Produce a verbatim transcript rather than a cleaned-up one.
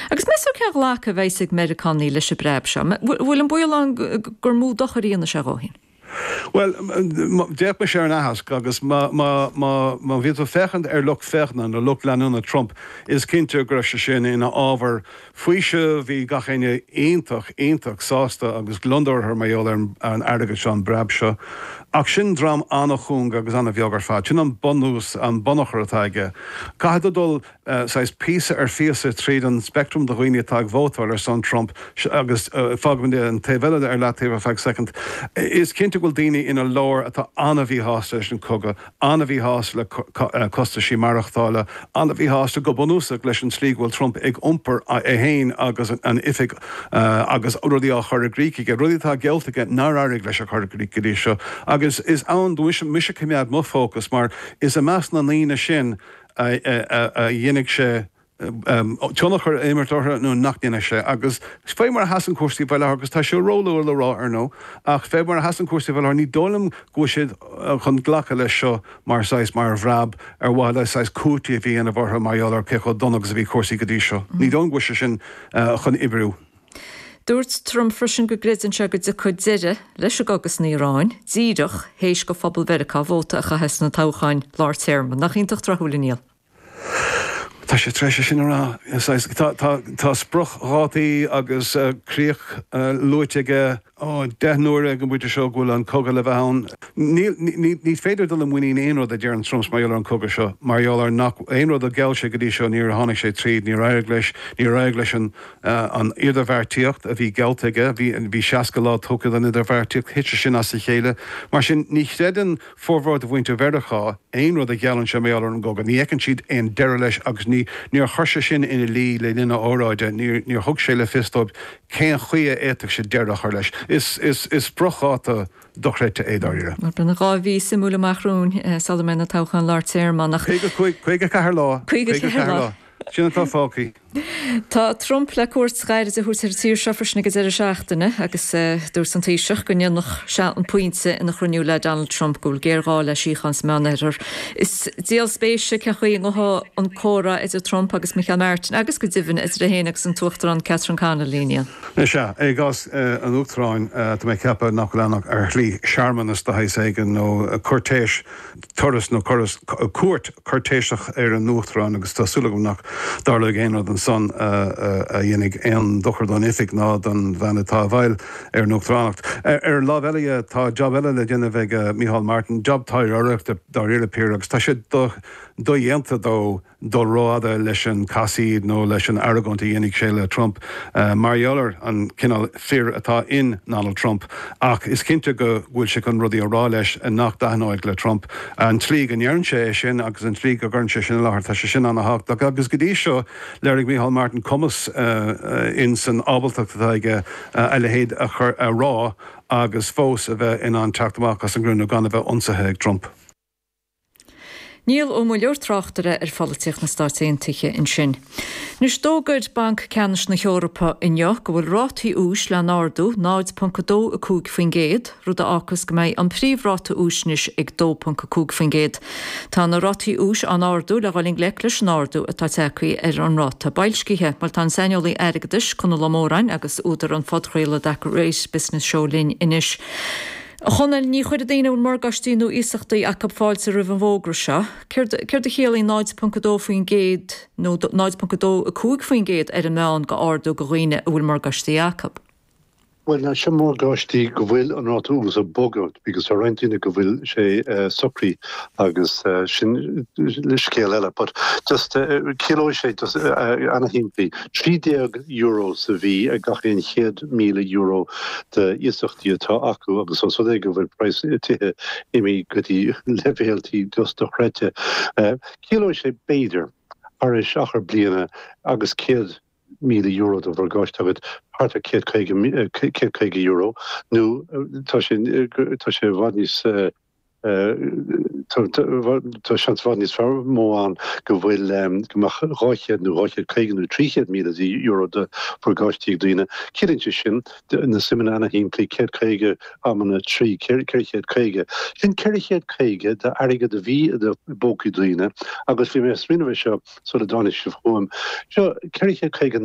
Agus meas tú cén ghlacadh a bheas ag Meiriceánaigh leis an bpreab seo? Bhfuil an baol ann gur mó dochar a dhéanfaidh sé dhóibh féin? Well, d'fhéach mise ar an aitheasc agus má bhí tú féachaint ar lucht féachana nó lucht leanúna Trump, is cinnte go raibh sé sin ina ábhar faoisimh, bhí gach éinne iontach, iontach sásta agus gliondar orthu mar gheall ar an airgead seo, an breab seo. Ach sin dream an-chúng agus an-bheag ar fad. Sin an bunús, an bunachar atá aige. Caithfidh tú dul saghas píosa ar phíosa tríd an speictream de dhaoine atá ag vótáil ar son Trump agus fágfaidh mé an taobh eile ar leataobh ar feadh soicind. Is cinnte go bhfuil daoine ina lár atá an-mhíshásta leis an cogadh, an-mhíshásta le costaisí maireachtála, an-mhíshásta go bunúsach leis an tslí go bhfuil Trump ag iompar é féin agus an oifig agus rudaí á chur i gcrích aige, rudaí atá geallta aige nár éirigh leis a chur i gcrích go dtí seo. Agus is ann do mise coimeád mo fócas mar is i measc na ndaoine sin a dhéanfaidh sé tionchar a imirt orthu nó nach ndéanfaidh sé. Agus fé mar a sheasann cúrsaí faoi láthair, agus tá sé róluath le rá ar ndóigh, ach fé mar a sheasann cúrsaí faoi láthair, ní dóigh liom go bhfuil siad chun glacadh leis seo mar saghas, mar bhreab ar mhaithe le saghas cúiteamh a dhéanamh orthu mar gheall ar cé chomh dona agus a bhí cúrsaí go dtí seo. Ní dóigh liom go bhfuil sé sin chun oibriú. Dúirt Trump freisin go gcreideann sé go dtiocfaidh deireadh leis an gcogadh san Iaráin díreach théis do phobal Mheiriceá vóta a chaitheamh sna toghcháin lár téarma. Nach iontach tráthúil, a Niall? Tá sé tar éis é sin a rá. Tá spriocdhátaí agus críoch luaite aige deich n-uaire ag an bpointe seo go bhfuil an cogadh le bheith ann. Ní féidir dul i muinín aon rud a deireann Trump mar gheall ar an cogadh seo, mar gheall ar nach aon rud a gheall sé go dtí seo níor tháinig sé tríd, níor éirigh leis, níor éirigh leis an an idirbheartaíocht a bhí geallta aige, bhí seasca lá tugtha don idirbheartaíocht, thit sé sin as a chéile. Mar sin ní chreideann formhór de mhuintir Mheiriceá aon rud a gheallann sé mar gheall ar an gcogadh. Ní fheiceann siad aon deireadh leis agus ní níor chuir sé sin ina luí le linn a óráide, níor níor thug sé le fios dóibh cén chaoi a fhéadfadh sé deireadh a chur leis. Is is is spriocdháta dochreidte é dáiríre. Beidh dhá mhí suimiúil amach romhainn sula mbeidh na toghcháin lár téarma ann ach. Caoga cúig, caoga ceathair lá. Caoga ceathair lá. Sin atá fágtha. Tá Trump le cuairt ghairid a thabhairt ar an tír seo freisin ag an deireadh seachtaine agus dúirt an Taoiseach go ndéanfadh sé an pointe ina chruinniú le Donald Trump go bhfuil géarghá le síocháin sa Meánoirthear. Is díol spéise cén chaoi a ngabhfaidh an comhrá idir Trump agus Micheál Martin agus go deimhin idir é féin agus an tUachtarán Catherine Connolly, Niall. Is ea, i gcás an Uachtaráin, tá mé ag ceapadh nach bhfuil ann ach ar shlí searmanas de shaghas éigin nó cúirtéis, turas nó cuairt chúirtéiseach ar an Uachtarán agus tá súil agam nach dtarlóidh aon rud ansan a dhéanfaidh aon dochar don oifig ná don bhean atá i bhfeighil ar an Uachtaránacht. Ar an lámh eile dhe, tá jab eile le déanamh ag Micheál Martin, jab taidhleoireachta dáiríre píre, agus tá sé dodhéanta dó dul rófhada leis an casaoid nó leis an argóint a dhéanfaidh sé le Trump mar gheall ar an cineál fir atá in Donald Trump. Ach is cinnte go bhfuil sé chun rudaí a rá leis nach dtaitneoidh le Trump. An tslí go ndeireann sé é sin agus an tslí go gcuireann sé sin i láthair, tá sé sin ana-thábhachtach. Agus go dtí seo, léirigh Micheál Martin cumas in san ábaltacht atá aige a leithéid a chur a rá agus fós a bheith in ann teacht amach as an gcruinniú gan a bheith ionsaithe ag Trump. Niall Ó Muilleoir, tráchtaire ar pholaitíocht na Stát Aontaithe ansin. Anois d'fhógair Banc Ceannais na hEorpa inniu go bhfuil rátaí úis le n-ardú náid ponc a dó a cúig faoin gcéad, rud a fhágfas go mbeidh an príomhráta úis anois ag dó ponc a cúig faoin gcéad. Tá na rátaí úis á n-ardú le dhul i ngleic leis an ardú atá tagtha ar an ráta boilscithe. Bhuel tá an saineolaí airgeadais, Conall Ó Móráin agus údar an phodchraoladh The Great Business Show linn anois. A Chonaill, ní chuirfidh daoine a bhfuil morgáistí nó iasachtaí acu fáilte roimh an bhfógra seo. Céard céard a chiallaíonn náid ponc a dó faoin gcéad nó náid ponc a dó a cúig faoin gcéad ar an meán go ardú go dhaoine a bhfuil morgáistí acu? Bhuel, na sin morgáistí go bhfuil an ráta ús ag bogadh because tá roinnt daoine go bhfuil sé socraithe agus sin scéal eile. But just ciallóidh sé just ana-shimplí trí déag euro sa mhí ag gach aon chéad míle euro de iasachtaí atá acu agus os rud é go bhfuil praghas tithe imithe go dtí leibhéaltaí just dochreidte. Ciallóidh sé b'fhéidir thar éis achar bliana agus céad míle euro de mhorgáiste agat thart ar céad caoga céad caoga euro nó tá sé tá sé i bhfad níos tá seans i bhfad níos fearr mó ann go bhfuil go mbeadh dhá chéad nó dhá chéad caoga nó trí chéad míle euro de mhorgáistí ag daoine. Ciallaíonn sé sin na suimeanna ana-shimplí céad caoga amanna trí ceithre chéad caoga. Sin ceithre chéad caoga d'airgead a bhí i bpócaí daoine agus bhí mé ag smaoineamh air seo sula dtáinig sibh chugam. Seo ceithre chéad caoga